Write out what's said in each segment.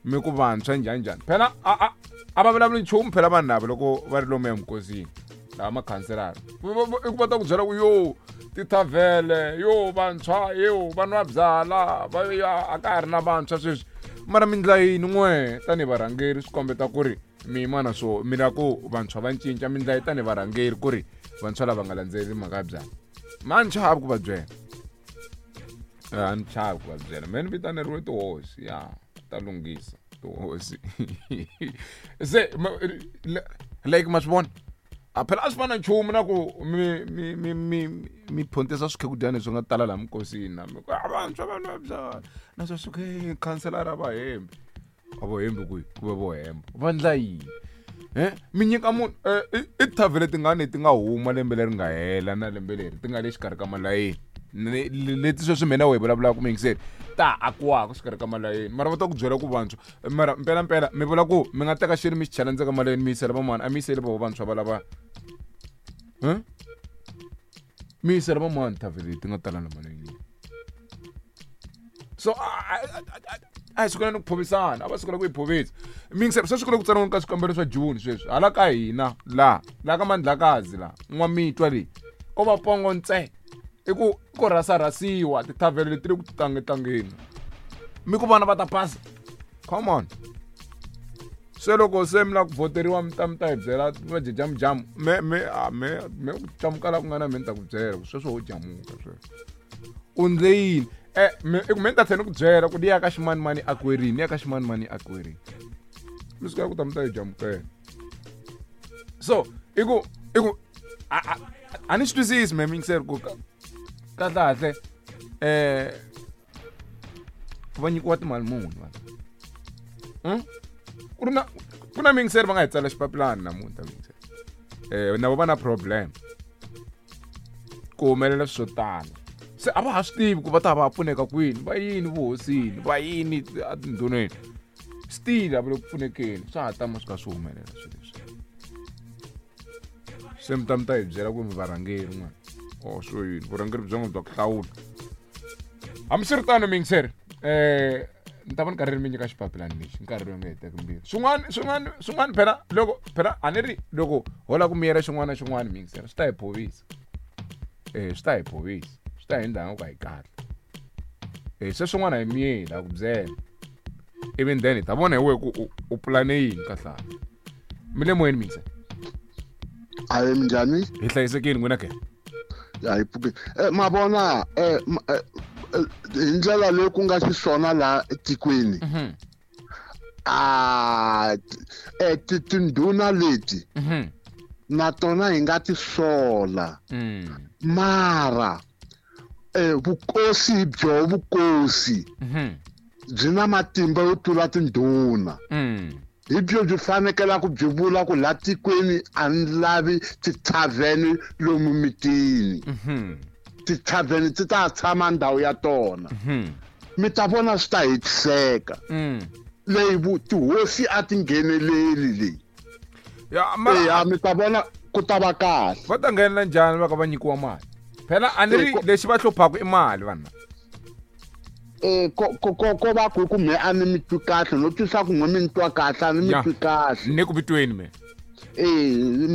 Mi ku vantshwa njhani njhani phela a va vulavuli nchumu phela vanhu lava loko va ri lomu emikosini lava makhanselara i ku va ta ku byela ku yo tithavhele yo vantshwa yo va nwa byala va ya a ka ha ri na vantshwa sweswi mara mi ndla yini n'we tanihi varhangeri swi kombeta ku ri mi yima na swo mi lava ku vantshwa va cinca mi ndla yi tanihi varhangeri ku ri vantshwa lava nga landzeleli mhaka ya byala ma ni chavi ku va byela a ni chavi ku va byela me ni vitaneriwe tihosi ya ta lunghisa tihosi se like ma swi vona a phela a swi fana nchumu na ku mi mi mi mi mi phontisa swikhekudyani leswi nga tala laha minkosini na mi ku a vantshwa vanhu va byala na swa swi khanselara va hembi a vo hembi kwihi ku ve vo hemba va ndla yini e mi nyika munhu i tithavhele tingani ti nga huma lembe leri nga hela na lembe leri ti nga le xikarhi ka malayeni leti sweswi mina wehe vulavulaka muyingiseri ta ha akiwaka xikarhi ka malayeni mara va ta ku byela ku vantshwa mara mpelampela mi vula ku mi nga teka xilo mi xi chela ndzeni ka malayeni mi yisela van'wana a mi yiseli voho vantshwa va lava mi yisela van'wana thavhele leti nga tala na malayeni so a hi sukela ni ku phovisana a va sukela ku hi phovisa mingiselo sweswi ku le ku tsariweni ka swikambelo swa june sweswi hala ka hina laha laha ka mandlakazi laha n'wamitwa leyi ko va pongo ntse i ku ku rhasarhasiwa tithavhele leti le ku tlangetlangeni mi ku vana va ta pasa come on se loko se mi lava ku vhoteriwa mi ta mi ta hi byela va jejamujamu me me a me me ku jamuka la ku nga na me ni ta ku byela ku sweswo ho jamuka sweswo u ndle yini e me i ku me ni ta tlhela ni ku byela ku ni ya ka ximanimani akwerini ni ya ka ximanimani akwerini mi suka ku ta mi ta yi jamukela so i ku i ku a ni swi twisisi me mingiseri ku kahle kahle um va nyikiwa timali muni vanhu hmm? Ku ri na ku na mingiseri va nga hi tsala xipapilani namuntlha mingiseri um na vo va na problem ku humelela swo tala se a va ha swi tivi ku va ta va pfuneka kwini va yini vuhosini va yini etindhuneni still a va le ku pfunekeni swa ha tama swi kha swi humelela swilo leswi se mi ta mi ta hi byela ku mi varhangeri n'wana o swo yini vurhangeri bya n'wina bya ku hlawula hambiswiritano miyingiseri um ni ta va ni karhi ni mi nyika xipapilani lexi nkarhi lowu nga heteki mbilu swin'wana swin'wana swin'wana phela loko phela a ni ri loko ho lava ku miyela xin'wana na xin'wana miyingiseri swi ta hi phovisa e swi ta hi phovisa swi ta hi ndla nga ku a hi kahle e se swin'wana hi miyeli a ku byela ivi then hi ta vona hi wehe ku u pulane yini kahlale mi le moyeni miyingiseri ayi minjhani hi hlayisekile n'wina ke ya hi pfuke ma vona hi ndlela leyi ku nga xiswona laha etikweni a tindhuna leti na tona hi nga ti sola mara vukosi byo vukosi byi na matimba yo tlula tindhuna hi byo byi fanekelaka byi vula ku laha tikweni a ni lavi tithavheni lomu mitini tithavheni ti ta tshama ndhawu ya tona mi ta vona swi ta hetiseka leyi tihosi a ti ngheneleli leyi ya mi ta vona ku ta va kahle va ta nghenela njhani va ka va nyikiwa mali phela a ni ri lexi va hluphaka i mali vanhu ko ko ko va ku ku me a ni mi twi kahle no twisa ku n'we mi ni twa kahle a ni mi twi kahle ni ku vitweni me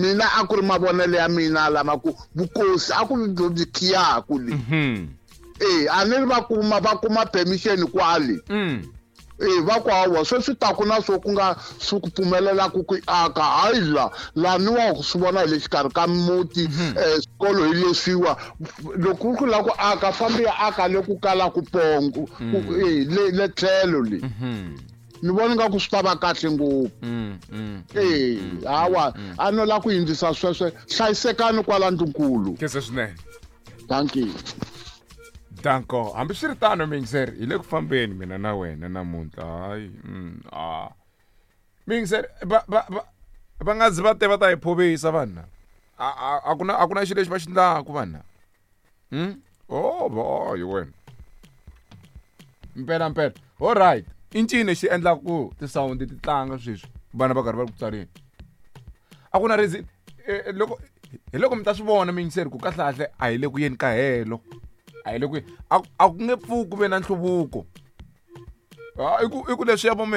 mina a ku ri mavonelo ya mina lama ku vukosi a ku byo byi khiyaku le a ni ri va kuma va kuma permission kwale va ku hawa sweswi taku na swo ku nga swi ku pfumelelaku ku aka hayi la laniwa ku swi vona hi le xikarhi ka muti swikolo hi leswiwa loko ku lava ku aka fambi ya aka le ku kalaku pongo le tlhelo le ni vona nga ku swi ta va kahle ngopfu hawa a no lava ku yindzisa sweswe hlayisekani kwala ndlunkulu kese swinene thank you danko hambiswiritano miyingiseri hi le ku fambeni mina na wena namuntlha hayi a miyingiseri va va va va nga zi va te va ta hi phovisa vanhu a ku na a ku na xilo lexi va xi ndlaku vanhu oh boy wena mpela mpela all right i ncini lexi endlaka ku tisawundi ti tlanga sweswi vana va karhi va ri ku tsaleni a ku na reason loko hi loko mi ta swi vona miyingiseri ku kahlekahle a hi le ku yeni ka helo a hi le ku a ku nge pfuki ku ve na nhluvuko i ku i ku leswiya vo mi